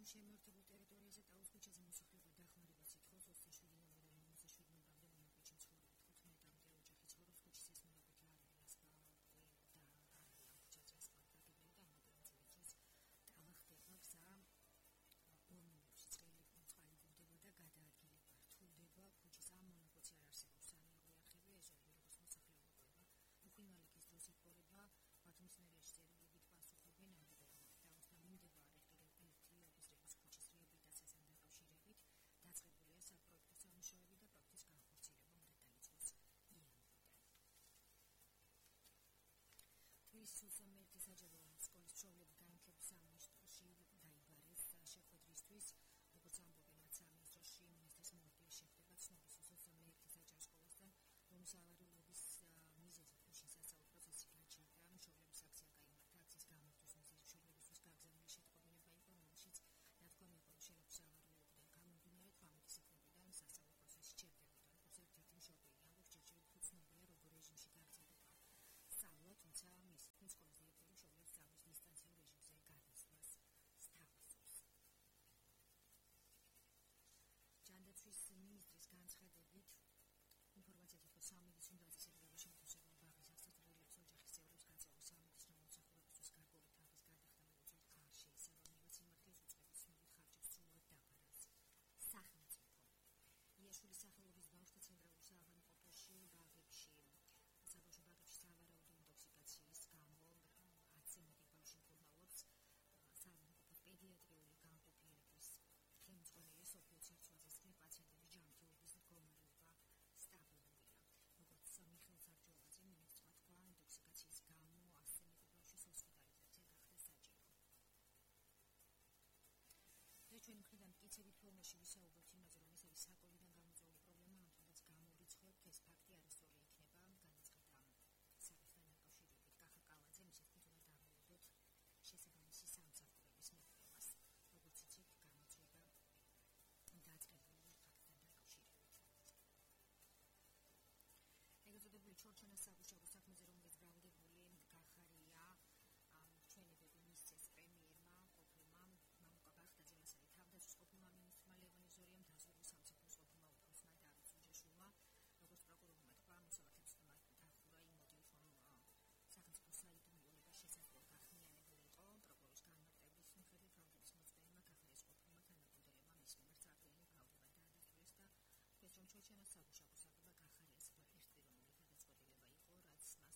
ბათუმის შემოერთებულ ტერიტორიაზე ტაუს ქუჩაზე მოსახლეობა დახმარებას ითხოვს 27 ნოემბრიდან 57 ნოემბრამდე მონაკვეთში ცხოვრობენ 15-მდე ოჯახი ცხოვრობს ქუჩის ეს მონაკვეთი არ არის ასფალტი და არ არის ამ ქუჩაზე ასფალტი დაგებული და ამიტომ წელიწადს ტავა ხდება გზა ორმონებში წყალი გულდება და გადაადგილება რთულდება ქუჩის ამ მონაკვეთში არ არსებობს სანაღვე არხები ეზოები როგორც მოსახლეობა ყვება უხინვალიკის დროს იპყრება ბათუმის მერიაში წერილობით პასუხობენ ამბობენ და მიმდებარე ერთვის ქუჩის რეაბილიტაციასთან დაკავშირებით დაწყებულია საპროექტო სამუშაოები და პროექტის განხორციელება უნდა დაიწყოს იანვრიდან. თბილისის 21 საჯარო სკოლის მშობლები განათლების სამინისტროში დაიბარეს შეხვედრისთვის, როგორც ამბობენ მათ სამინისტროში მინისტრის მოადგილე შეხვდება ცნობის 21 საჯარო სკოლასთან, რომლის ავარიულობის მიზეზი ქუჩის სასწავლო პროცესი გაჩერდა, მშობლების აქცია გაიმართა, აქციის გამართვის მიზეზი მშობლებისთვის გაგზავნილი შეტყობინება იყო, რომელშიც ნათქვამი იყო, რომ შენობის ავარიულებიდან გამომდინარე 18 სექტემბრიდან სასწავლო პროცესი ჩერდებოდა. როგორც ერთ-ერთი მშობელი ამბობს, ჯერჯერობით უცნობია, როგორ რეჟიმში გაგრძელდება სწავლა, თუმცა მისი თქმით, სკოლის დირექტორი მშობლებს სწავლის დისტანციურ რეჟიმზე გადასვლას სთავაზობს. ჯანდაცვის მინისტრის განცხადებით ინფორმაცია თითქოს სამედიცინო დაწესებულება შემთხვევაში ბაღის აღსაწერილებს ოჯახის წევრებს გაწევის სამედიცინო მომსახურებისთვის გარკვეული თანხის გადახდა მოუწევთ არ შეიცვალა სიმართლის უწყების ცნობით ხარჯებს სრულად დაბარას სახელმწიფო. იაშვილის სახელობის ბავშვთა ცენტრალურ საავადმყოფოში ბაღებში საბავშვო ბაღებში სავარაუდო ინტოქსიკაციის გამო 10-ზე მეტი ბავშვი მკურნალობს საავადმყოფოს პედიატრიული განყოფილების ხელმძღვანელი სოფიო ცერცვაძის თქმით, პაციენტების ჯანმრთელობის მდგომარეობა სტაბილურია. როგორც მიხეილ სარჯოվածე მინისტრმა თქვა, ინტოქსიკაციის გამო 100-ზე მეტი ბავშვის ჰოსპიტალიზაცია გახდა საჭირო. ჩვენი მხრიდან მტკიცებით ფორმაში ვისაუბრებთ იმაზე, რომ ეს არის საკოვიდან გამოწვეული პრობლემა, ამ თუნდაც გამორიცხავთ, ეს ფაქტი არასწორი იქნება, განაცხადა საკითხთან დაკავშირებით კახა კალაძე, მისი თქმით, უნდა დავუვადოთ შესაბამისი სამსახურების მიღებას, როგორც იცით, გამოწვება დაწყებული ფაქტთან დაკავშირებით. ეგრეთ წოდებული ჩორჩანას საგუშაგო საქმეზე, რომელიც ბრალდებული გახარია ჩვენებები მისცეს პრემიერმა ყოფილმა მამუკა ბახტაძემ, ასევე თავდაცვის ყოფილმა მინისტრმა ლევან იზორიამ, დაზღვევულ სამსახურის ყოფილმა უფროსმა დავით სუჯაშვილმა, როგორც პროკურორმა თქვა, მოსამართლეებს დახურა იმ მოტივით, რომ სახელმწიფო საიდუმლოება შესაძლოა გახმიანებული იყო პროკურორის განმარტების მიხედვით, ბრალდების მოწმეებმა გახარიას ყოფილმა თანაგუნდელებმა მის მიმართ წარდგენილი ბრალდება დაადასტურეს და თქვეს, რომ ჩორჩანას საგუშაგო საგება გახარიას ერთპიროვნული გადაწყვეტილება იყო, რაც მას ქვეყნისთვის არ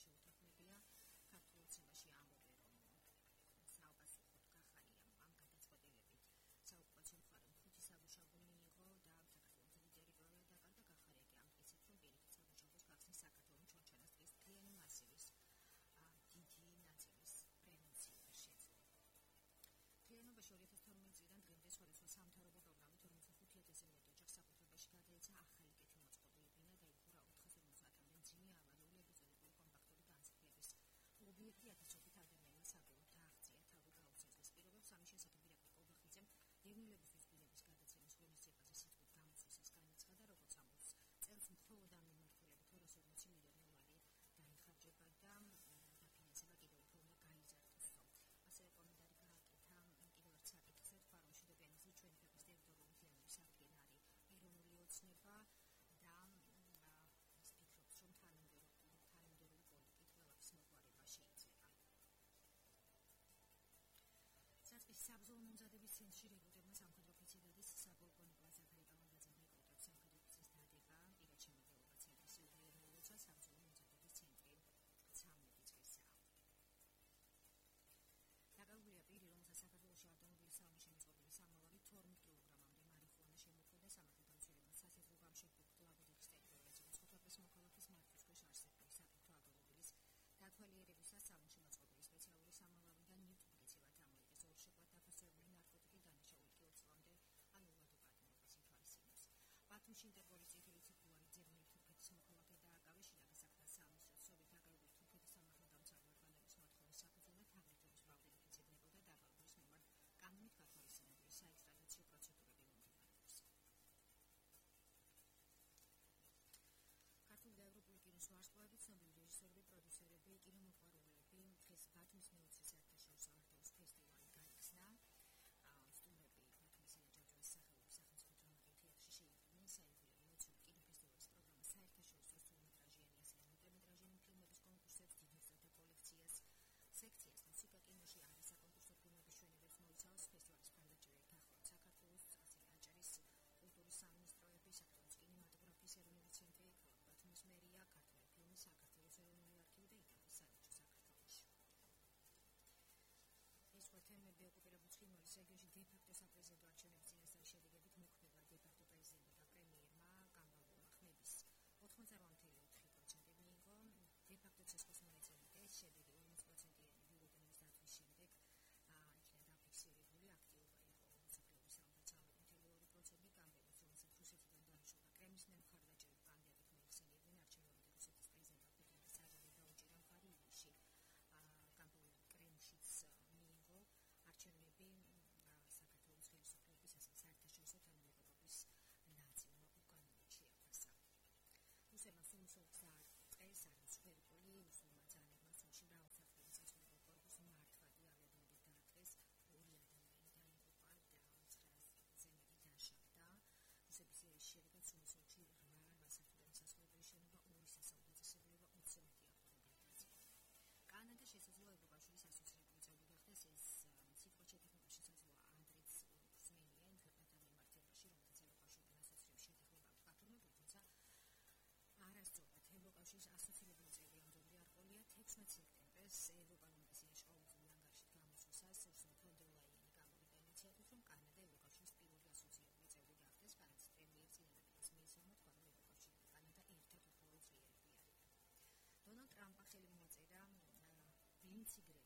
შეუთანხმებია. ქართულ ოცნებაში ამბობენ, რომ საოპასუხოდ გახარიამ ამ გადაწყვეტილებით საოკუპაციო მხარემ 5 საგუშაგო მიიღო და საქართველოს დიდი ტერიტორია დაკარგა. გახარია კი ამტკიცებს, რომ პირიქით საგუშაგოს გახსნის საქართველოს ჩორჩანას ტყის მთლიანი მასივის დიდი ნაწილის პრევენცია შეძლო. მთლიანობაში 2012 წლიდან დღემდე სხვადასხვა სამთავრობო პროგრამით 45,000-ზე მეტ ოჯახს საკუთრებაში გადაეცა ახალი კეთილმოწყობილი ბინა და იხურა 450-მდე მძიმე ავარიული ეპიზოდური კომპაქტური განცხადების ობიექტი 1000-ობით ადამიანის საბოლოოდ აღწია თავი გაუცეს პირობებს. ამის შესახებ დირექტორ კობახიძემ დევნილებისთვის ბინების გადაცემის ღონისძიებაზე სიტყვით გამოცდისას განაცხადა, როგორც ამბობს, წელს მხოლოდ ამ მიმართულებით 240 მილიონი ლარი დაიხარჯება და დაფინანსება კიდევ უფრო უნდა გაიზარდოს. ასევე კომენტარი გააკეთა კიდევ ერთ საკითხზე, თქვა, რომ მშვიდობიანობის ჩვენი ქვეყნის ტერიტორიული მთლიანობის აღდგენა არის ეროვნული ოცნება და ის ფიქრობს, რომ თანამედროვე პოლიტიკით ყველაფრის მოყვარება შეიძლება. საწყის საბრძოლო მომზადების ცენტრში რეკრუტებმა სამხედრო ოფიცერების საპოლკოვნიკო ზაქარი კალანდაძემ რეკრუტებს სამხედრო ოფიცრის დადება პირად შემოღება ცენტრის უღიარებელ ლოცვა საბრძოლო მომზადების ცენტრი 13 წლისაა. დაკავებულია პირი, რომელსაც საქართველოში ავტომობილის საომში მოწყობილი სამმალავი 12 კილოგრამამდე მარიხუანა შემოქმნა და სამართალდამცველებმა სასაზღვრო გამშეფებულ ლაგოდეხის ტერიტორიაზე მოწყობილ მოქალაქის მართვის ქვეშ არსებული საფრთხო ავტომობილის დათვალიერებისას სამომში მოწყობილი სპეციალური სამმალავიდან ნივთმტკიცებად ამოიღეს ორშეკვად დაფასებული ნარკოტიკი დანაშაული კი 20 წლამდე ანულვადო პატიმრობის ითვალისწინებს. ბათუმში ინტერპოლის წითელი ციფრული ძებნით თურქეთის მოქალაქე დააკავეს შინაგან საქმეთა სამინისტროს სობით დაკავებული თურქეთის სამართალდამცავი ორგანოების მოთხოვნის საფუძველად თაღლითობის ბრალდებით იძებნებოდა დაღალბურის მიმართ კანონით გათვალისწინებული საექსტრადიციო პროცედურები მომდინარეობს. ქართული და ევროპული კინოს ვარსკვლავები, ცნობილი რეჟისორები, პროდიუსერები, კინომოყვარულები დღეს ბათუმის მეოცე საერთაშორისო არტ-ჰაუს ფესტივალი გაიხსნა. განციგრება